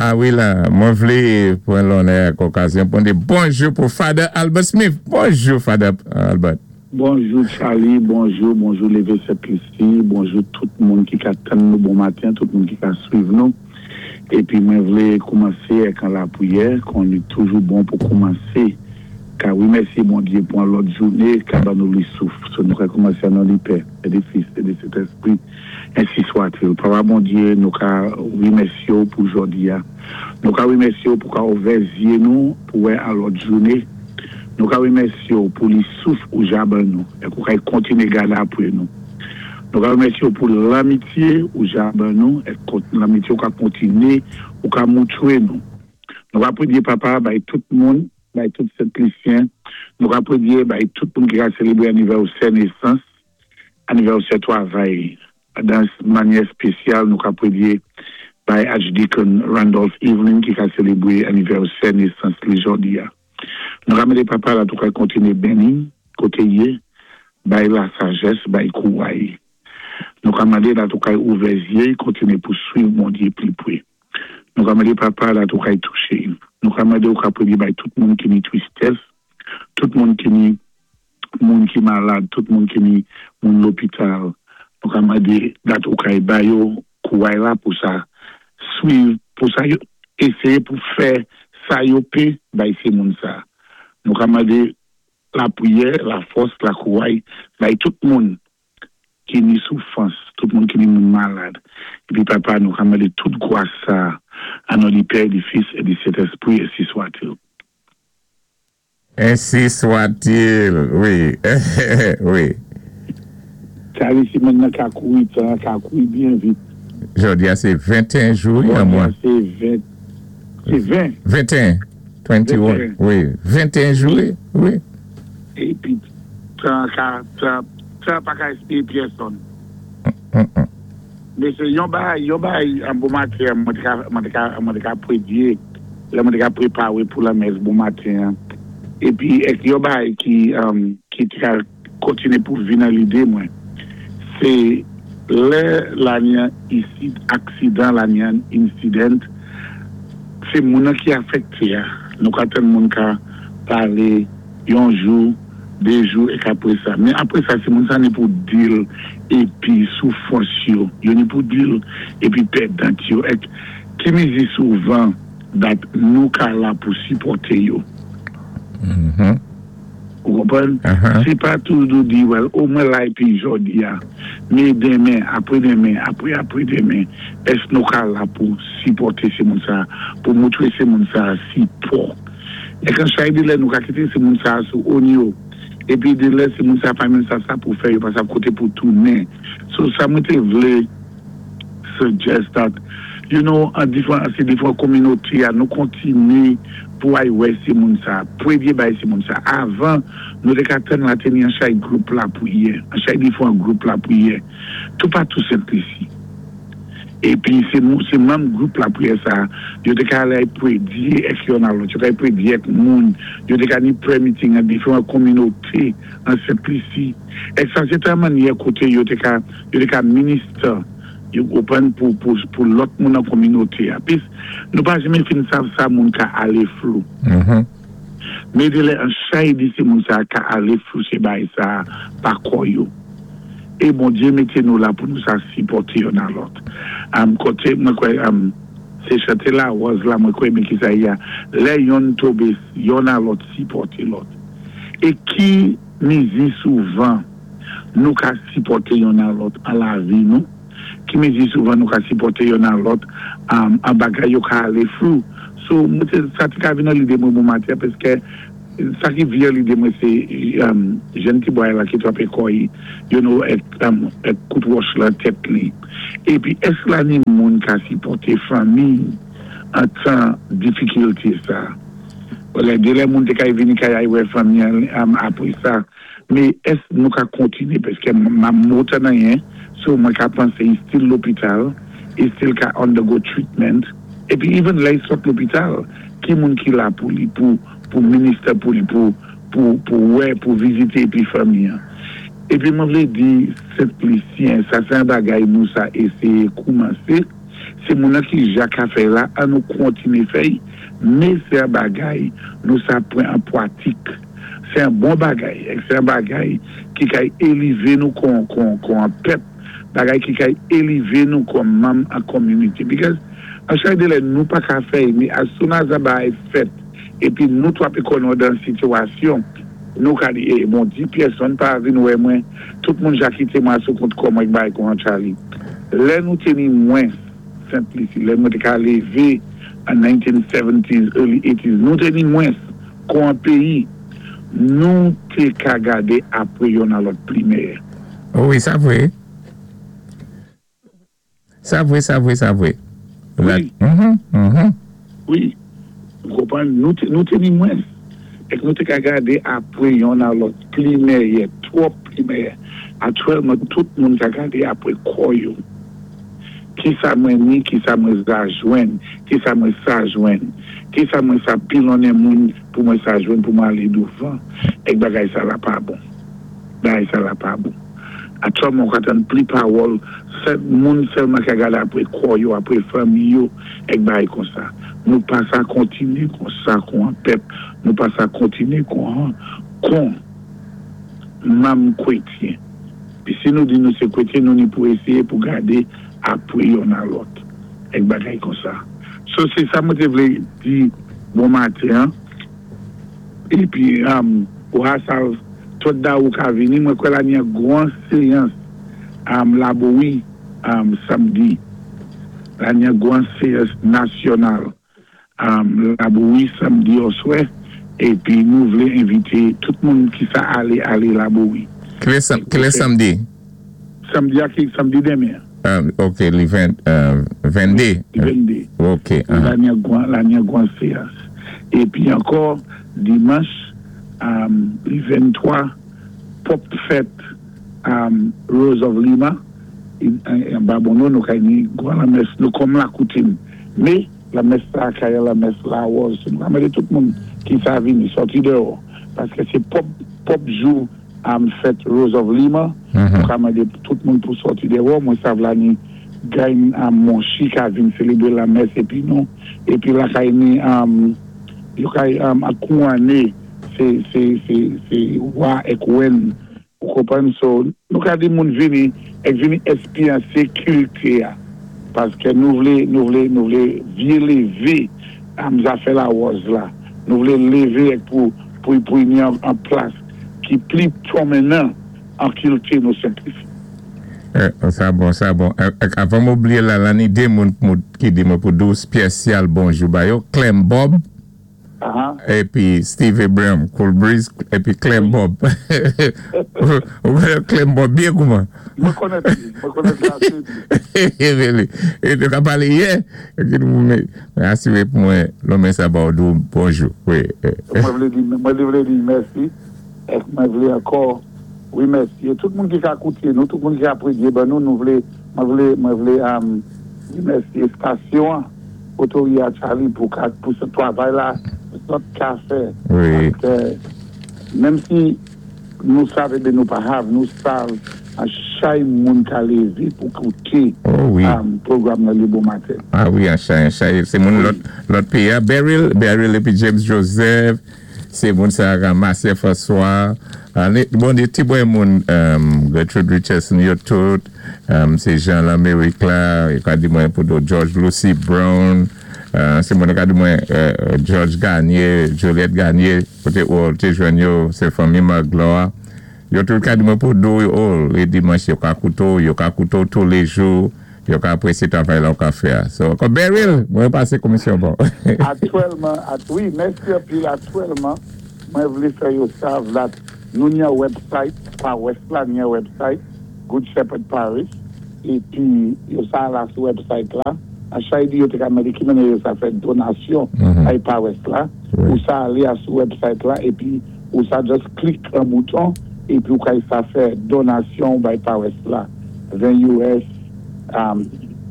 A wi la, mwen vlé pran lonnè ak okazyon pou m di bonjou pou Father Albert Smith. Bonjou Father Albert. Bonjou Charly, bonjou, bonjou Leve 7 Lisi, bonjou tout moun ki ka tann nou bon maten, tout moun ki ka swiv nou. Epi mwen vle koumanse ak an lapriyè, kon li toujou bon pou koumanse ka remèsye Bondye pou an lòt joune ka ban nou li souf. So nou ka koumanse an non li Pè, e di Fis, e di Sentespri, ensi swatil. Papa Bondye, nou ka remèsye w pou jòdi a. Nou ka remèsye w pou ka ouvè zye nou pou wè an lòt joune. Nou ka remèsye w pou li souf ou ja ban nou e k ou kay kontinye gade apre nou. Nou ka remèsye w pou lanmitye ou ja ban nou e k lanmitye ou ka kontinye ou ka moutre nou. Nou ka pridye Papa bay tout moun, bay tout Sentlisyen. Nou ka pridye bay tout moun ki ka selebre anivèsè nesans, anivèsè twavay. Dan manyè spesyal nou ka pridye bay Archdeacon Randolph Evelyn ki ka selebre anivèsè nesans li jòdi a. Nou ka mande Papa la tou ka kontinye beni kote y ye, bay la sajès, bay kouray. Nou ka mande la tou kay ouvè zye y kontinye pou swiv Bondye pli pwe. Nou ka mande Papa la tou kay touche y. Nou ka mande ou ka pridye bay tout moun ki ni tristès, tout moun ki ni moun ki malad, tout moun ki ni moun lopital. Nou ka mande dat ou kay ba yo kouray la pou sa swiv, pou sa yo eseye pou fè sa yo pe bay se moun sa. Nou ka mande lapriyè, lafòs, lakouray bay tout moun ki ni soufrans, tout moun ki ni moun malad. Épi Papa, nou ka mandé tout gwas sa an non di Pè, di Fis é di Sentèspri, ensi swatil. Ensi swatil, wi, wi. Charly semèn nan ka kouri tan an ka kouri byen vit. Jodi a se 21 jou wi an mwa. Jodi a se 20 se 20. 21 21 wi 21 jou wi wi. Epi tan an ka tan tan an pa ka espere pyèsonn. Men se yon bagay yon bagay an bon maten an mwen te ka mwen te ka mwen te ka predye lè mwen te ka prepare pou lanmès bon maten an epi ek yon bagay ki ki te ka kontinye pou vin nan lide mwen se lè la ni an isit aksidan la ni an incident se moun nan ki afekte a nou ka tann moun ka pale yon jou, de jou ek apre sa. Men apre sa se moun sa ni pou dil epi soufwans yo, yo ni pou dil epi pèdant yo ek ki mizi souvan dat nou ka la pou sipòte yo. Ou konprann? Se pa toujou di well o mwen la epi jodi a, men demen, apre demen, apre apre demen, èske nou ka la pou sipòte se moun sa, pou moutre se moun sa sipò. E kan chay de lè nou ka kite se moun sa sou own yo epi de lè se moun sa pa menm sa sa pou fè yo pa sav kote pou tounen so sa mwen te vle suggest that you know an diferan se diferan kominote a nou kontinye pou ay wè se moun sa premye bay se moun sa avan nou te ka tann la te ni an chay group lapriyè an chay diferan group lapriyè toupatou Sent Lisi. Epi se se manm gwoup lapriyè sa a, yo te ka ale ay predye èk yonn a lòt, yo ka ay predye èk moun, yo te ka ni prayer meeting an diferan kominote an Sent Lisi. Èk sa se te an mannyè kote yo te ka yo te ka minister, yo konprann, pou pou pou lòt moun nan kominote a. Pis nou pa janmen fin sav sa moun ka ale flou. Men de lè an chay di se moun sa a ka ale flou se bagay sa a pa kò yo. E Bondye mete nou la pou nou sa sipòte yonn a lòt. Am kote mwen kwè am se chante laròz la mwen kwè men kisa ye a lè yonn tobe yonn a lòt sipòte lòt. E ki mezi souvan nou ka sipòte yonn a lòt an lavi nou? Ki mezi souvan nou ka sipòte yonn a lòt an bagay yo ka ale flou? So mwen te sa te ka vin nan lide mwen bon maten paske Sa ki vye lide mwen se jèn ti bway la ki trape kò yi you know ek kout wòch lan tèt li. Epi èske la ni moun ka sipòte fanmi an tan difikilte sa? Lè de lè moun te kay vini kay ay wè fanmi an apre sa. Me èske nou ka kontinye paske ma motan anyen so mwen ka panse yi still lopital yi still ka undergo treatment epi even lè yi sot lopital ki moun ki la pou li pou pou minister pou li pou pou pou wè pou vizite epi fanmi an epi mwen vle di Sent Lisyen sa se yon bagay nou sa eseye koumanse. Sé moun-nan ki ja ka fè-y la, an nou kontiné fè-y, mé sé an bagay nou sa pwan an pwatik. Sé an bon bagay, èk sé an bagay ki kay élivé nou kon kon kon an pèp, bagay ki kay élivé nou kon manm an konminité. Because an chay dé lè nou pa ka fè-y, mé as soon as an bagay fèt épi nou twapé kò nou dan sitiyasyon, nou ka di, eh bon di pyèsonn pa vin wè mwen, tout moun ja kité mwen asou kont kò mwen k bagay kon an Charlie. Lè nou té ni mwens Sent Lisi, lè mwen té ka lévé an 1970s, early 80s, nou té ni mwens kon an péyi, nou té ka gadé apwé yonn a lòt pli mèyè. Wi, sa vwé. Sa vre, sa vre, sa vre. Wi. Wi. Ou konprann? Nou te, nou te ni mwens. Èk nou te ka gade apre yonn a lòt pli mèyè, twòp pli mèyè. Aktyèlman tout moun ka gade apre kò yo. Kisa mwen ni, kisa mwen za jwenn, kisa mwen sa jwenn, kisa mwen sa pilonnen moun pou mwen sa jwenn pou mwen ale douvan. Èk bagay sa la pa bon. Bagay sa la pa bon. Aktyèlman ou ka tann pli pawòl sè moun sèlman ka gade apre kò yo, apre fanmi yo èk bagay konsa. Nou pa sa kontinye konsa kon an pèp, nou pa sa kontinye kon an kon manm kwetyen. Pi si nou di nou se kwetyen nou ni pou eseye pou gade apre yonn a lòt èk bagay konsa. So se sa mwen te vle di bon maten an. Epi ou ha sav tot da ou ka vini mwen kwè la ni an gwan seyans Labowi samdi la ni an gwan seyans nasyonal Labowi samdi oswè epi nou vlé envité tout moun ki sa alé alé Labowi. Kilè samdi? Samdi a ki samdi demen an. Ok li 22. 22. Ok. La ni an gwan seyans. Epi ankò dimanch li 23 pwòp fèt Rose of Lima anba Bonno nou kay ni gwan lanmès nou kòm lakoutim me lanmès sa kay lanmès lawòz nou ka mande tout moun ki sa vini sòti dèwò paske se pwòp pwòp jou fèt Rose of Lima nou ka mande tout moun pou sòti dèwò mwen sav la ni gany monchi ka vin selebre lamès epi nou epi lakay ni yo kay ak kouwane se se se se wa èk wèn ou konprann so nou ka di moun vini èk vini espyanse kilti a paske nou vle nou vle nou vle vye leve zafè lawòz la nou vle leve èk pou pou pou ni an plas ki pli pwomenan an kilti nou Sentlisi. Sa bon, sa bon. Avan m oubliye la, la ni 2 moun ki di mwen pou di w spyesyal bonjou ba yo, Clem Bob epi Steve Abraham, Cool Breeze epi Clem Bob. Ou konnen Clem Bob byen kouman? Mwen konnen li, mwen konnen li ase byen. E nou ka pale yè, mwen asire pou mwen lonmen sa ba w di w bonjou. Mwen vle di, mwen vle di mèsi. Èske mwen vle ankò remèsye tout moun ki ka koute nou, tout moun ki ka predye ban nou, nou vle, mwen vle, mwen vle remèsye estasyon an, Otoria Charlie pou ka, pou se twavay la zòt ka fè. Paske menm si nou sav ebe nou pa hav, nou sav an chay moun ka leve pou koute pwogram nan le bon maten. A wi, an chay, an chay, se moun lòt, lòt peyi a, Beryl, Beryl epi James Joseph. Se moun sa Marcia François bon de ti bwè moun Gertrude Richardson yo tout se Jean Lamerick la yo ka di mwen pou do George Lucy Brown se moun yo ka di mwen George Garnier Juliette Garnier kote ou te jwenn yo se fanmi Magloire yo tout ka di mwen pou do yo le dimanche yo ka koute w yo ka koute w toulejou. Yo ka apresye travay la ou ka fè a. So, ankò Beryl, mwen pase komisyon ba w. Aktyèlman, wi, mèsi anpil. Aktyèlman, mwen vle fè yo sav that nou ni yon website, pawas la ni yon website, Good Shepherd Parish, epi yo sa la sou website la. A chay di yo te ka mande ki manyè yo sa fè donasyon bay pawas la, ou sa ale a sou website la epi ou sa just click an bouton epi ou kay sa fè donasyon bay pawas la. 20 us,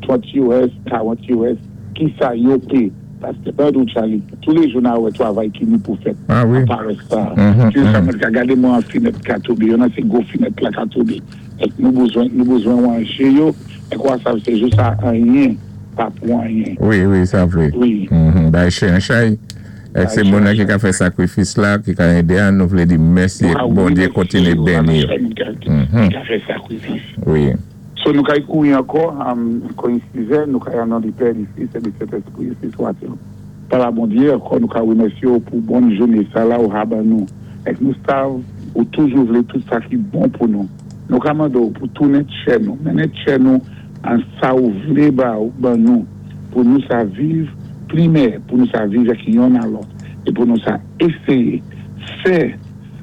30 us, 40 us, kisa yo pe paske bèd ou Charlie toulejou na wè twavay ki ni pou fèt an parès sa se sa mwen ka gade mwen an finèt ka tobe yo nan se gwo finèt la ka tobe èk nou bezwen nou bezwen wanje yo èk wa sav se jou sa anyen. Pa pou anyen. Wi, sa vwé. Wi. Bay chen an chay. Èk Bay sé chen moun an nan ki chay. Ka fè sakrifis la, ki ka édé an, nou vlé di mèsi Nou èk ka Bondyé remèsyé kontiné yo, la béni nan yo. chay moun ki ka fè sakrifis. Wi. So nou kay kouri ankò, kò in sizè, nou kay an non di Pè, di Fis, è di Sentespri, ensi swatil. Papa Bondye, ankò nou ka remèsye w pou bon jouné sa la ou ha ban nou. Èk nou sav ou toujou vlé tout sa ki bon pou nou. Nou ka mande w pou tounen tchè nou, mennen tchè nou an sa ou vlé ba ban nou pou nou sa viv pli mèyè, pou nou sa viv èk yonn a lòt e pou nou sa éséyé fè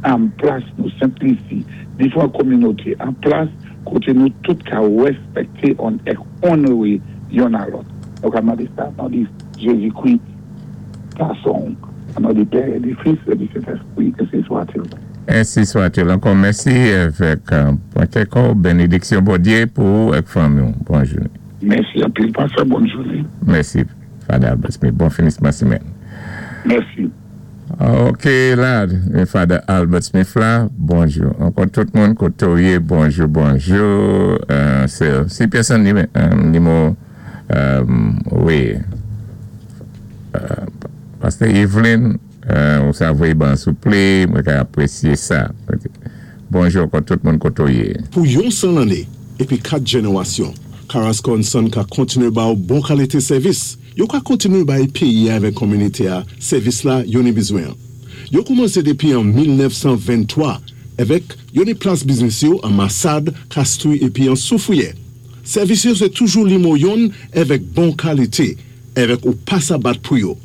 an plas nou Sent Lisi, difran kominoté an plas koté nou tout ka rèspèkté on èk onowé yonn a lòt. Nou ka mande sa nan di Jézikri gason w, an non di Pè e di Fis e di Sentespri, ensi swatil. Ensi swatil. Ankò mèsi evèk pran kè kòw benediksyon Bondye pou ou ak fanmi w bon joune. Mèsi anpil pastè bòn joune. Mèsi Father Albert Smith bon finisman semèn. Mèsi. Ok la men Father Albert Smith la bonjou ankò tout moun kote w ye bonjou bonjou se si pèsonn nimo wi Pastè Evelyn ou sa voye ban souple mwen ka apresye sa bonjou ankò tout moun kote w ye. Pou yon 100 lanné épi 4 jènérasyon, Carrasco and Son ka kontiné ba ou bon kalité sèvis. Yo ka kontiné bay péyi a avèk konminité a sèvis la yo ni bizwen an. Yo koumansé dépi an 1923 avèk yo ni plas biznis yo an Masad, Kastri épi an Soufriyè. Sèvis yo sé toujou limo yonn avèk bon kalité avèk ou pa sa bat pou yo.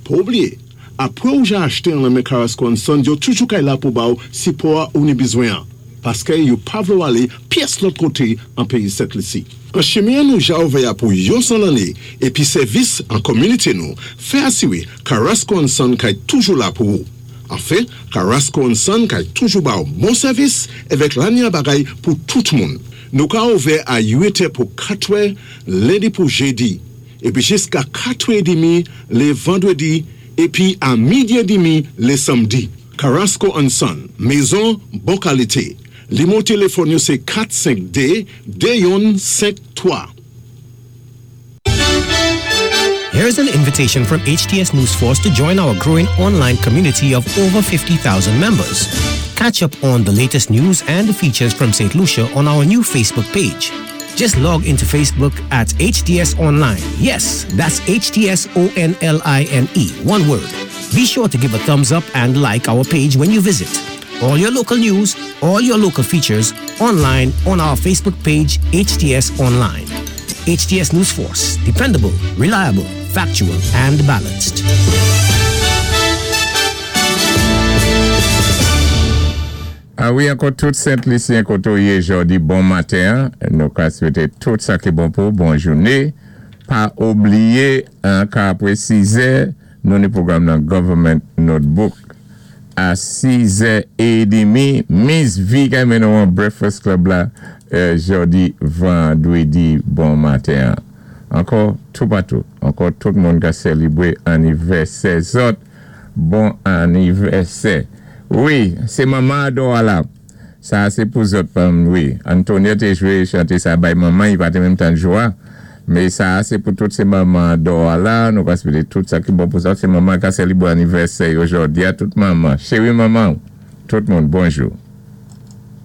Pa oubliyé, apwé ou ja achte an lan men Carrasco and Son yo toujou kay la pou ba ou sipò a ou ni bizwen an, paskè yo pa vlé ou alé pyès lòt koté an péyi Sent Lisi. An chimen an nou ja ouvè a pou yon 100 lanné épi sèvis an kominité nou fè asiré Carrasco and Son kay toujou la pou ou. Anfen, Carrasco and Son kay toujou ba ou bon sèvis avèk lanya bagay pou tout moun. Nou ka ouvè a 8 è pou 4 è lendi pou jedi, épi jiska 4 è edmi lé vandrédi épi a midi edmi lé samdi. Carrasco and Son, mezon bon kalité. Limo téléfòn yo sé 452 2153. Here is an invitation from HTS News Force to join our growing online community of over 50,000 members. Catch up on the latest news and features from St. Lucia on our new Facebook page. Just log into Facebook at HTS Online. Yes, that's HTS O N L I N E, one word. Be sure to give a thumbs up and like our page when you visit. All your local news, all your local features online on our Facebook page, HTS Online. HTS News Force, dependable, reliable, factual, and balanced. A wi ankò tout Sent Lisyen koté w yé jòdi bon maten an nou ka swété tout sa ki bon pou w bon jouné pa oubliyé an ka apré 6 zè nou ni pwogram nan Government Notebook a 6 zè edemi Miss V kay mennen w an Breakfast Club la jòdi vandredi bon maten an ankò toupatou ankò tout moun ka sèlibre anivèsè zòt Bon anivèsè wi se manman adò a la sa se pou zòt pam wi Antonio te jwe chante sa bay manman li pa te menm tan jwa me sa se pou tout se manman adò a la nou ka swete tout sa ki bon pou zòt se manman ka selibre anivèsè yo jòdia tout manman cheri manman tout moun bonjou.